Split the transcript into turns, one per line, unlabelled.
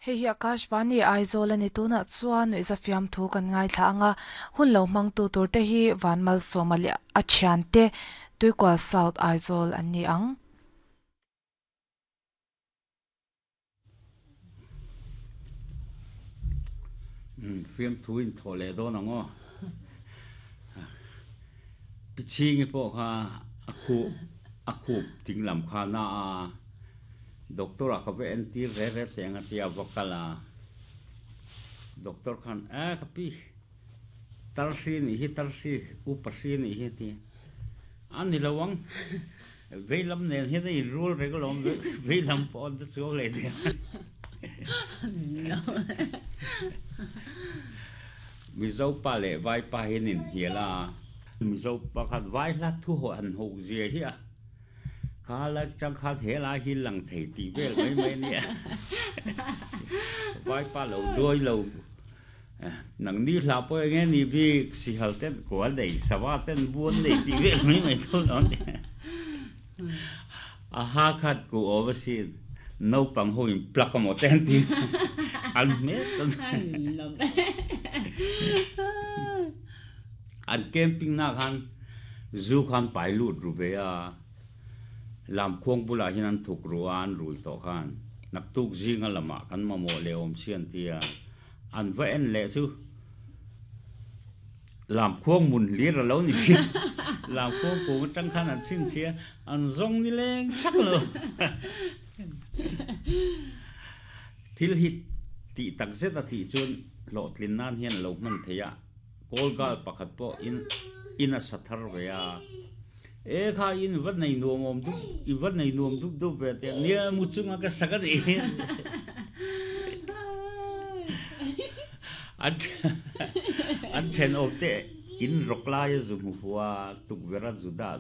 Hei hi Akashvani Aizawl a ni. Tunah chuan nuihza fiamthu kan ngaithla ang a, hun lo hmangtu turte hi Vanmalsawma leh a thiante Tuikual South Aizawl an ni ang.
Fiamthu in thawh leh dawn ang aw. Pichhingi pawh kha a khuh a khup ding lam kha na a, doctor ah ka va entir re re teh ang a tia va kal a. Doctor khan a ka pi tarhri nih hi tarhri upa hri nih hi a ti a ni lo ang. Veilam nen hian a inrul reng alawm, veilam pawh an la chuang leh nia. Mizo pa leh vai pa hi an inhnial a, Mizo pa khan vai hla thu haw han hauh zia hi a, kha la chang khan he lai hi lang thei tih vel mai mai a nia. Vai pa lo duai lo. Nangni hla pawh eng nge ni bik, sihal ten kua nei, sava ten buan nei tih vel mai mai tho lo a ni. A ha khat ku awm asin, naupang ho in plug amaw te an ti an hmel ta mai. An camping na khan zu khan pai lut ru ve a, Lamkhuang bulah hian an thuk ru a, an rui tawh khan naktuk zinga lamah kan mamawh leh awm si an ti a. An va en leh chu Lamkhuang mun hlir a lo ni si. Lamkhuang kum atang khan an chhinchhi a, an zawng ni leng thak lo. Thil hi tih tak zet a tih chuan hlawhtlin nan hian a lo hman thei a, Kawl gal pakhat pawh in in a sa thar ve a. E kha in va nei nuam awm dup i va nei nuam dup dup ve teh nia mu chunga ka sak a nih hi. An an thenawm te in rawk laia zu hmu hua tukverh a zu dah.